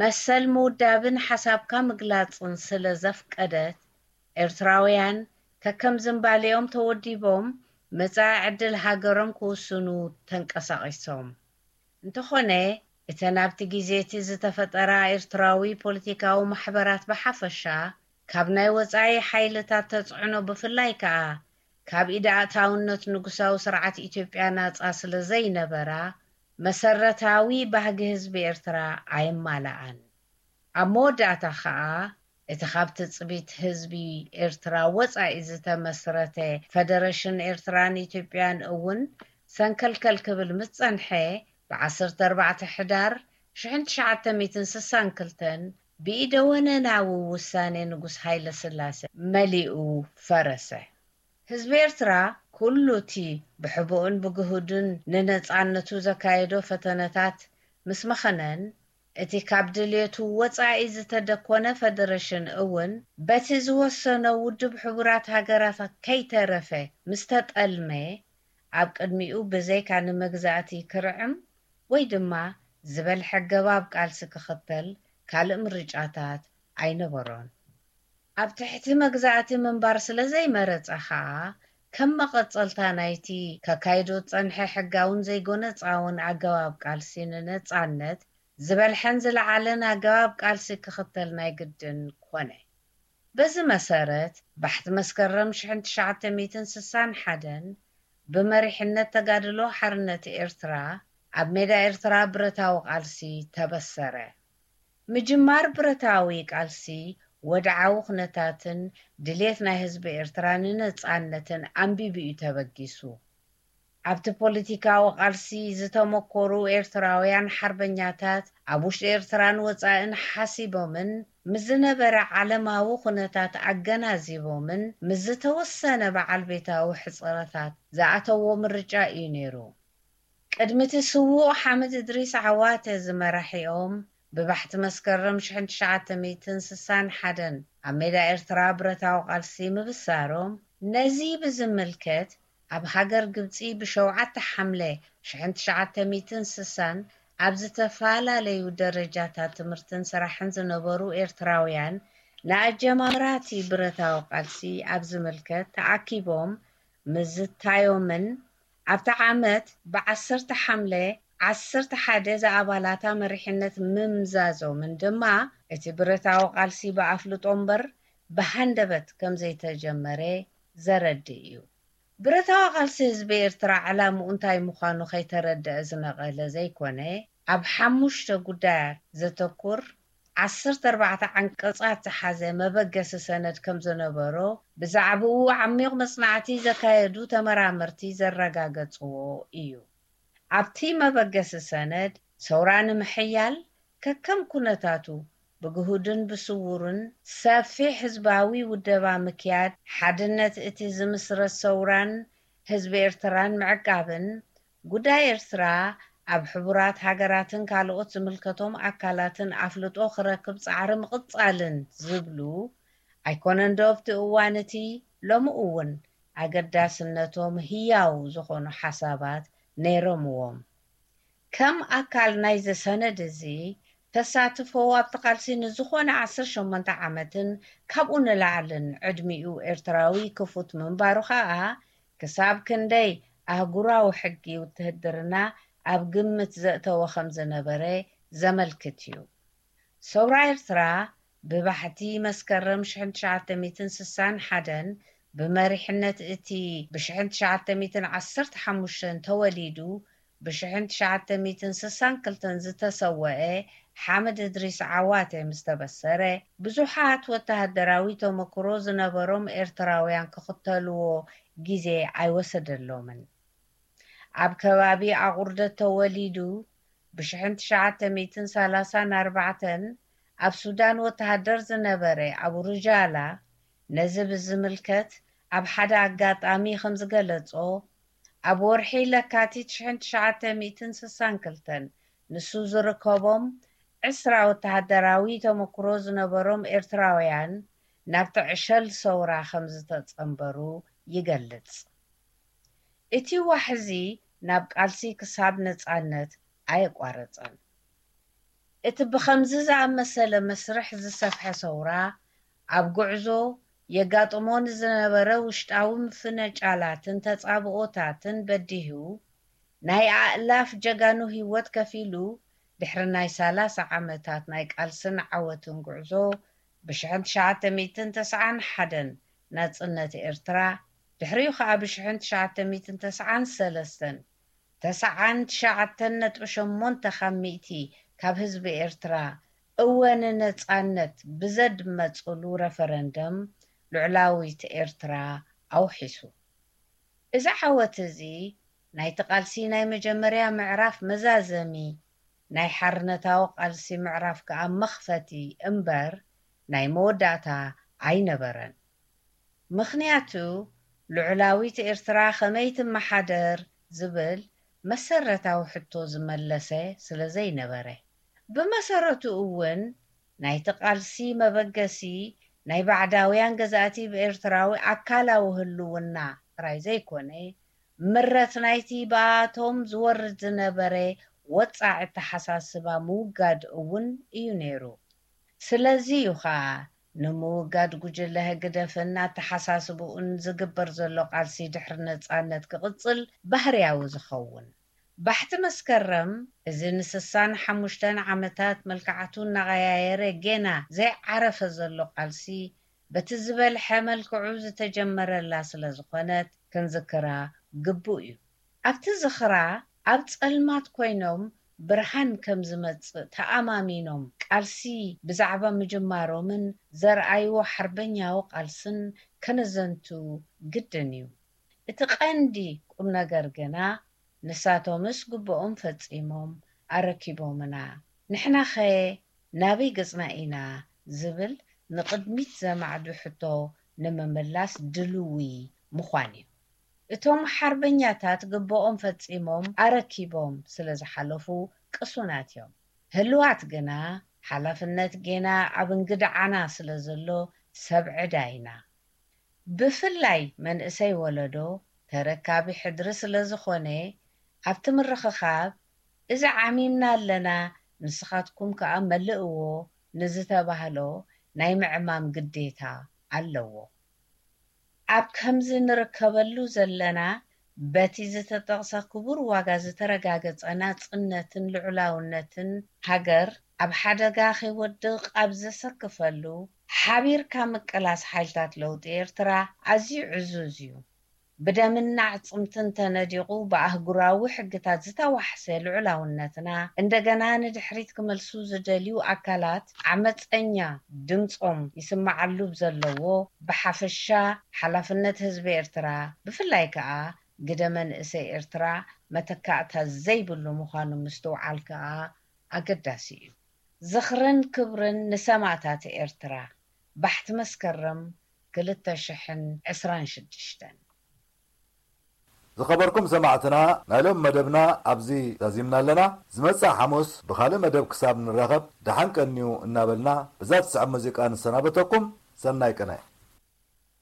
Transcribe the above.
መሰል ምውዳብን ሓሳብካ ምግላጽን ስለ ዘፍቀደት፣ ኤርትራውያን ከከም ዝንባሌኦም ተወዲቦም መጻኢ ዕድል ሃገሮም ክውስኑ ተንቀሳቒሶም። እንተኾነ፣ እተን ኣብቲ ግዜ እቲ ዝተፈጠራ ኤርትራዊ ፖለቲካዊ ማሕበራት ብሓፈሻ፣ ካብ ናይ ወጻኢ ሓይልታት ተጽዕኖ ብፍላይ ከኣ ካብ ኢድ ኣእታውነት ንጉሳዊ ስርዓት ኢትዮጵያ ናጻ ስለ ዘይነበራ፣ መሰረታዊ ባህጊ ህዝቢ ኤርትራ ኣየማልኣን። ኣብ መወዳእታ ከኣ፣ እቲ ካብ ትጽቢት ህዝቢ ኤርትራ ወጻኢ ዝተመስረተ ፈደረሽን ኤርትራን ኢትዮጵያን እውን ሰንከልከል ክብል ምስ ጸንሐ፣ ብ ዓሰርተ ኣርባዕተ ሕዳር ሽሕን ትሽዓተ ሚእትን ስሳን ክልተን ብኢደ ወነናዊ ውሳኔ ንጉስ ሃይለ ስላሴ መሊኡ ፈረሰ። ህዝቢ ኤርትራ ኩሉ እቲ ብሕቡእን ብግሁድን ንነጻነቱ ዘካየዶ ፈተነታት ምስ መኸነን፣ እቲ ካብ ድልየቱ ወጻኢ ዝተደኮነ ፈደረሽን እውን በቲ ዝወሰኖ ውድብ ሕቡራት ሃገራት ከይተረፈ ምስ ተጠልመ፣ ኣብ ቅድሚኡ ብዘይካ ንመግዛእቲ ክርዕም ወይ ድማ ዝበልሐ ገባብ ቃልሲ ክኽተል ካልእ ምርጫታት ኣይነበሮን። ኣብ ትሕቲ መግዛእቲ ምንባር ስለ ዘይመረጸ ኸኣ፣ ከም መቐጸልታ ናይቲ ከካይዶ ዝጸንሐ ሕጋውን ዘይጎነጻውን ኣገባብ ቃልሲ ንነጻነት፣ ዝበልሐን ዝለዓለን ኣገባብ ቃልሲ ክኽተል ናይ ግድን ኮነ። በዚ መሰረት፣ ባሕቲ መስከረም ሽሕን ትሽዓተ ሚእትን ስሳን ሓደን ብመሪሕነት ተጋድሎ ሓርነት ኤርትራ፣ ኣብ ሜዳ ኤርትራ ብረታዊ ቃልሲ ተበሰረ። ምጅማር ብረታዊ ቃልሲ፣ ወድዓዊ ኩነታትን ድሌት ናይ ህዝቢ ኤርትራ ንነጻነትን ኣንቢቡ እዩ ተበጊሱ። ኣብቲ ፖለቲካዊ ቃልሲ ዝተመኮሩ ኤርትራውያን ሓርበኛታት፣ ኣብ ውሽጢ ኤርትራን ወጻእን ሓሲቦምን፣ ምስ ዝነበረ ዓለማዊ ኩነታት ኣገናዚቦምን፣ ምስ ዝተወሰነ በዓል ቤታዊ ሕጽረታት ዝኣተዎ ምርጫ እዩ ነይሩ። ቅድሚ እቲ ስዉእ ሓምድ እድሪስ ዓዋተ ዝመራሒኦም፣ ብባሕቲ መስከረም ሽሕን ትሽዓተ ሚእትን ስሳን ሓደን ኣብ ሜዳ ኤርትራ ብረታዊ ቃልሲ ምብሳሮም፣ ነዚ ብዝምልከት፣ ኣብ ሃገር ግብጺ ብሸውዓተ ሓምለ ሽሕን ትሽዓተ ሚእትን ስሳን ኣብ ዝተፈላለዩ ደረጃታት ትምህርትን ስራሕን ዝነበሩ ኤርትራውያን፣ ንኣጀማምራ እቲ ብረታዊ ቃልሲ ኣብ ዝምልከት ተኣኪቦም ምዝታዮምን፣ ኣብቲ ዓመት ብዓሰርተ ሓምለ ዓሰርተ ሓደ ዝኣባላታ መሪሕነት ምምዛዞምን ድማ፣ እቲ ብረታዊ ቃልሲ ብኣፍልጦ እምበር ብሃንደበት ከም ዘይተጀመረ ዘረድእ እዩ። ብረታዊ ቃልሲ ህዝቢ ኤርትራ ዕላምኡ እንታይ ምዃኑ ከይተረድአ ዝነቐለ ዘይኮነ፣ ኣብ ሓሙሽተ ጉዳያት ዘተኩር ዓሰርተ ኣርባዕተ ዓንቀጻት ዝሓዘ መበገሲ ሰነድ ከም ዝነበሮ፣ ብዛዕባኡ ዓሚቕ መጽናዕቲ ዘካየዱ ተመራመርቲ ዘረጋገጽዎ እዩ። ኣብቲ መበገሲ ሰነድ፣ ሰውራ ንምሕያል፣ ከከም ኩነታቱ፣ ብግሁድን ብስዉርን፣ ሰፊሕ ህዝባዊ ውደባ ምክያድ፣ ሓድነት እቲ ዝምስረት ሰውራን ህዝቢ ኤርትራን ምዕቃብን፣ ጉዳይ ኤርትራ ኣብ ሕቡራት ሃገራትን ካልኦት ዝምልከቶም ኣካላትን ኣፍልጦ ክረክብ ጻዕሪ ምቕጻልን ዝብሉ ኣይኮነን ዶ ኣብቲ እዋን እቲ፣ ሎሚ እውን ኣገዳስነቶም ህያው ዝኾኑ ሓሳባት ነይሮምዎም። ከም ኣካል ናይዚ ሰነድ እዚ፣ ተሳትፎ ኣብቲ ቃልሲ ንዝኾነ ዓሰርተ ሸሞንተ ዓመትን ካብኡ ንላዕልን ዕድሚኡ ኤርትራዊ ክፉት ምንባሩ ከኣ፣ ክሳብ ክንደይ ኣህጉራዊ ሕጊ ውትህድርና ኣብ ግምት ዘእተወ ከም ዝነበረ ዘመልክት እዩ። ሰውራ ኤርትራ ብባሕቲ መስከረም ሽሕን ትሽዓተ ሚእትን ስሳን ሓደን ብመሪሕነት እቲ ብሽሕን ትሽዓተ ሚእትን ዓሰርተ ሓሙሽተን ተወሊዱ ብሽሕን ትሽዓተ ሚእትን ስሳን ክልተን ዝተሰወአ ሓምድ እድሪስ ዓዋተ ምስ ተበሰረ፣ ብዙሓት ወተሃደራዊ ተመክሮ ዝነበሮም ኤርትራውያን ክኽተልዎ ግዜ ኣይወሰደሎምን። ኣብ ከባቢ ኣቑርደት ተወሊዱ፣ ብሽሕን ትሽዓተ ሚእትን ሰላሳን ኣርባዕተን ኣብ ሱዳን ወተሃደር ዝነበረ ኣቡ ሩጃላ፣ ነዚ ብዝምልከት ኣብ ሓደ ኣጋጣሚ ከም ዝገለጾ፣ ኣብ ወርሒ ለካቲት ሽሕን ትሽዓተ ሚእትን ስሳን ክልተን ንሱ ዝርከቦም ዕስራ ወተሃደራዊ ተመክሮ ዝነበሮም ኤርትራውያን ናብቲ ዕሸል ሰውራ ከም ዝተጸንበሩ ይገልጽ። እቲ ዋሕዚ ናብ ቃልሲ ክሳብ ነጻነት ኣየቋረጸን። እቲ ብኸምዚ ዝኣመሰለ መስርሕ ዝሰፍሐ ሰውራ፣ ኣብ ጉዕዞ የጋጥሞ ንዝነበረ ውሽጣዊ ምፍንጫላትን ተጻብኦታትን በዲሁ፣ ናይ ኣእላፍ ጀጋኑ ህይወት ከፊሉ፣ ድሕሪ ናይ ሰላሳ ዓመታት ናይ ቃልስን ዓወትን ጉዕዞ፣ ብሽሕን ትሽዓተ ሚእትን ተስዓን ሓደን ናጽነት ኤርትራ፣ ድሕሪኡ ኸኣ ብሽሕን ትሽዓተ ሚእትን ተስዓን ሰለስተን ተስዓን ትሽዓተን ነጥቢ ሸሞንተ ካብ ሚእቲ ካብ ህዝቢ ኤርትራ እወ ንነጻነት ብዘድመጽሉ ረፈረንደም ልዑላዊት ኤርትራ ኣውሒሱ። እዚ ዓወት እዚ ናይቲ ቃልሲ ናይ መጀመርያ ምዕራፍ መዛዘሚ፣ ናይ ሓርነታዊ ቃልሲ ምዕራፍ ከኣ መኽፈቲ እምበር ናይ መወዳእታ ኣይነበረን። ምኽንያቱ ልዑላዊት ኤርትራ ከመይ ትመሓደር ዝብል መሰረታዊ ሕቶ ዝመለሰ ስለ ዘይነበረ። ብመሰረቱ እውን ናይቲ ቃልሲ መበገሲ ናይ ባዕዳውያን ገዛእቲ ብኤርትራዊ ኣካላዊ ህልውና ጥራይ ዘይኮነ፣ ምረት ናይቲ ብኣቶም ዝወርድ ዝነበረ ወጻዒ ኣተሓሳስባ ምውጋድ እውን እዩ ነይሩ። ስለዚ እዩ ኸኣ ንምውጋድ ጉጅለ ህግደፍን ኣተሓሳስብኡን ዝግበር ዘሎ ቃልሲ ድሕሪ ነጻነት ክቕጽል ባህርያዊ ዝኸውን። ባሕቲ መስከረም፣ እዚ ንስሳን ሓሙሽተን ዓመታት መልክዓቱ እናቐያየረ ጌና ዘይዓረፈ ዘሎ ቃልሲ፣ በቲ ዝበልሐ መልክዑ ዝተጀመረላ ስለ ዝኾነት ክንዝክራ ግቡእ እዩ። ኣብቲ ዝኽራ፣ ኣብ ጸልማት ኮይኖም ብርሃን ከም ዝመጽእ ተኣማሚኖም ቃልሲ ብዛዕባ ምጅማሮምን ዘርኣይዎ ሓርበኛዊ ቃልስን ከነዘንቱ ግድን እዩ። እቲ ቀንዲ ቁም ነገር ግና፣ ንሳቶምስ ግብኦም ፈጺሞም ኣረኪቦምና፣ ንሕናኸ ናበይ ገጽና ኢና ዝብል ንቕድሚት ዘማዕዱ ሕቶ ንምምላስ ድልዊ ምዃን እዩ። እቶም ሓርበኛታት ግብኦም ፈጺሞም ኣረኪቦም ስለ ዝሓለፉ ቅሱናት እዮም። ህልዋት ግና ሓላፍነት ጌና ኣብ እንግድዓና ስለ ዘሎ ሰብ ዕዳ ኢና። ብፍላይ መንእሰይ ወለዶ ተረካቢ ሕድሪ ስለ ዝኾነ፣ ኣብቲ ምርኽኻብ፣ "እዚ ዓሚምና ኣለና፣ ንስኻትኩም ከኣ መልእዎ" ንዝተባህሎ ናይ ምዕማም ግዴታ ኣለዎ። ኣብ ከምዚ ንርከበሉ ዘለና፣ በቲ ዝተጠቕሰ ክቡር ዋጋ ዝተረጋገጸ ናጽነትን ልዑላውነትን ሃገር ኣብ ሓደጋ ከይወድቕ ኣብ ዘሰክፈሉ፣ ሓቢርካ ምቅላስ ሓይልታት ለውጢ ኤርትራ ኣዝዩ ዕዙዝ እዩ። ብደምን ኣዕጽምትን ተነዲቑ ብኣህጉራዊ ሕግታት ዝተዋሕሰ ልዑላውነትና እንደገና ንድሕሪት ክመልሱ ዝደልዩ ኣካላት ዓመጸኛ ድምጾም ይስማዓሉ ዘለዎ፣ ብሓፈሻ ሓላፍነት ህዝቢ ኤርትራ፣ ብፍላይ ከኣ ግደ መንእሰይ ኤርትራ መተካእታ ዘይብሉ ምዃኑ ምስትውዓል ከኣ ኣገዳሲ እዩ። ዝኽርን ክብርን ንሰማእታት ኤርትራ። ባሕቲ መስከረም ክልተ ሽሕን ዕስራን ሽዱሽተን። ዝኸበርኩም ሰማዕትና፣ ናይ ሎም መደብና ኣብዚ ዛዚምና ኣለና። ዝመጽእ ሓሙስ ብኻልእ መደብ ክሳብ ንራኸብ ደሓን ቀንዩ እናበልና፣ ብዛ ትስዕብ ሙዚቃ ንሰናበተኩም። ሰናይ ቅነ።